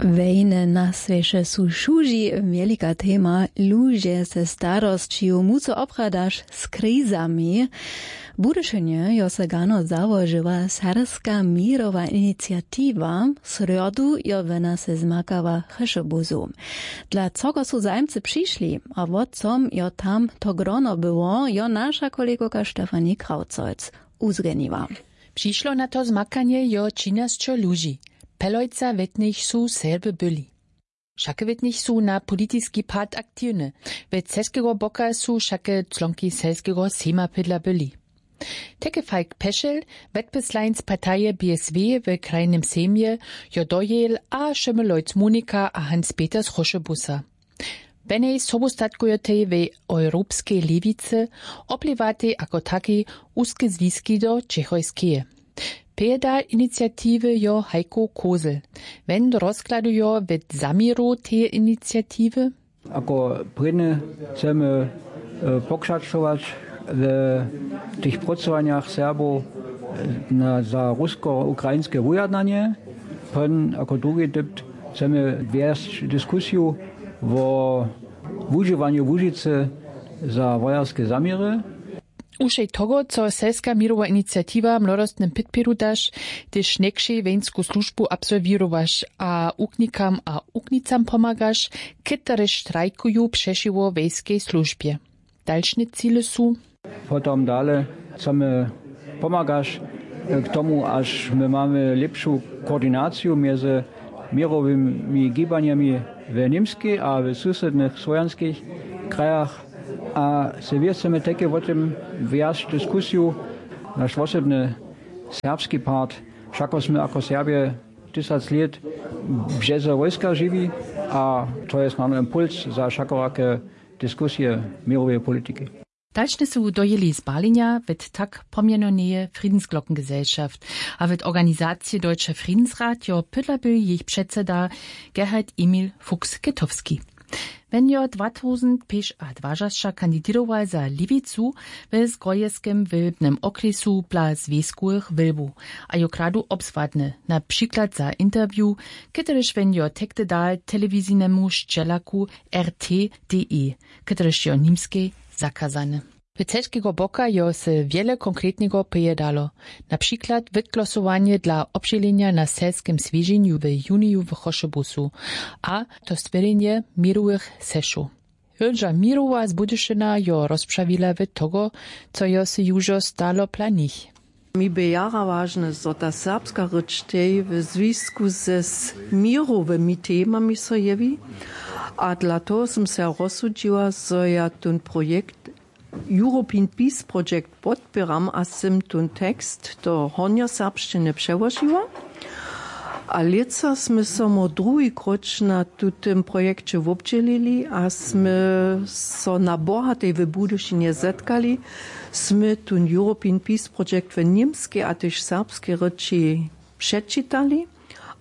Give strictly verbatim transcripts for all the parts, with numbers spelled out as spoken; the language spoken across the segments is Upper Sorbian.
Wejne na swěše su šuži, wjelika tema. Luźe ze starosćiju muco opradaš z krizami. W Budyšynje jo se gano załožiła serbska měrowa iniciatiwa. W srjodu jo wona se zmakała w Chešebuzu. Dla cogo su zajimcy přišli a wo com jo tam to grono było, jo naša kolegowka Stefanie Kraucojc uzrjeniła. Přišło na to zmakanje jo třinasćo ludźi. Pelojca wětnich su Serby byli. Wšake wětnich su na politiski part aktiwne. We ceskeho boka su wšake čłonki selskeho sejma pydla byli. Teke Falk Pešel, wetpyslańc partaje B S W w krajnym sejmje, jo dojel a Šymylojc Monika a Hans Peter z Chrošebusa. Benej sobustatkujotej we europskej lewicy, oplěwatej ako takej, wuske zwiski do čechojskeje. Pěda iniciatiwy jo Heiko Kozel. Wen rozkladujo we zaměru teje iniciatiwy. Ako prědny chcemy pokřačować w tych prócowanjach Serbow za rusko-ukrajinske wujednanje. Prědny ako drugi dypt chcemy wjesć diskusiju wo wužiwanju łužicy za wojerske zaměry. Ušej toho co selska měrowa iniciatiwa młodostnym pětpědu daš, hdyž někšej wejnsku službu absolwěrowaš a uknikam a uknicam pomagaš, kitarež štrajkuju přešiwo wejskej službje. Dalšne cile su. Potom dale chcemy pomagaš k tomu, až my mamy lěpšu koordinaciju mjezy měrowymi gibanjemi w Němskej a w susydnych słowjanskich krajach. A se wěscymy teke wo tym wjac diskusiju, naš wosebny serbski part, wšako smy ako Serbje tysac lět bžeze wojska žiwi. A to je snano impuls za wšakorake diskusije měroweje politiki. Dalšne su dojěli z Berlinja wet tak pomjenoneje Friedensglockengesellschaft a wet organizacije Deutsche Friedensrat jo pydla by jejich předseda Gerhard Emil Fuchs-Ketowski. Wen jo dwatausendt pěš a dwažasća kandiděrował za lewicu we zgrojeskem wylbnem okrjesu bla zwěskowych wylbow a jo kradu obzwadny, na přiklad za interview, kotryž wen jo tekte dal telewizinemu šćelaku R T D E, kotryž jo w Nimskej zakazany. W ceskeho boka jo se wjele konkretneho pějedalo, na přiklad wytglosowanje dla obdźělenja na selskem swědźenju w juniju w Chrošebusu a to stwěrjenje měrowych seszow. Hilža Mirowa z Budyšina jo rozprawila w toho, co jo se južo stalo planich. Mi bě jara wažne, zo ta serbska rěč tej w zwisku ze směrowymi temami so jewi. A dla toho sym se rozsudźiła, zo ja tón projekt European Peace Project podpěram a sym tón tekst do hornjoserbšćiny přełožiła. A lětsa smy so mo druhi króć na tutym projekće wobdźělili a smy so na bohatej w Budyšinje zetkali. Smy tón European Peace Project w němskej a tež serbskej rěči předčitali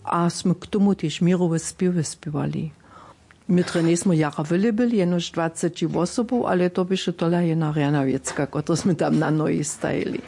a smy k tomu tež měrowe spěwy spěwali. My drje njejsmy jara wjele byli, jenož dwaceći wosobow, ale to běše tola jedna rjana wěcka, kotru smy tam na nohi stajili.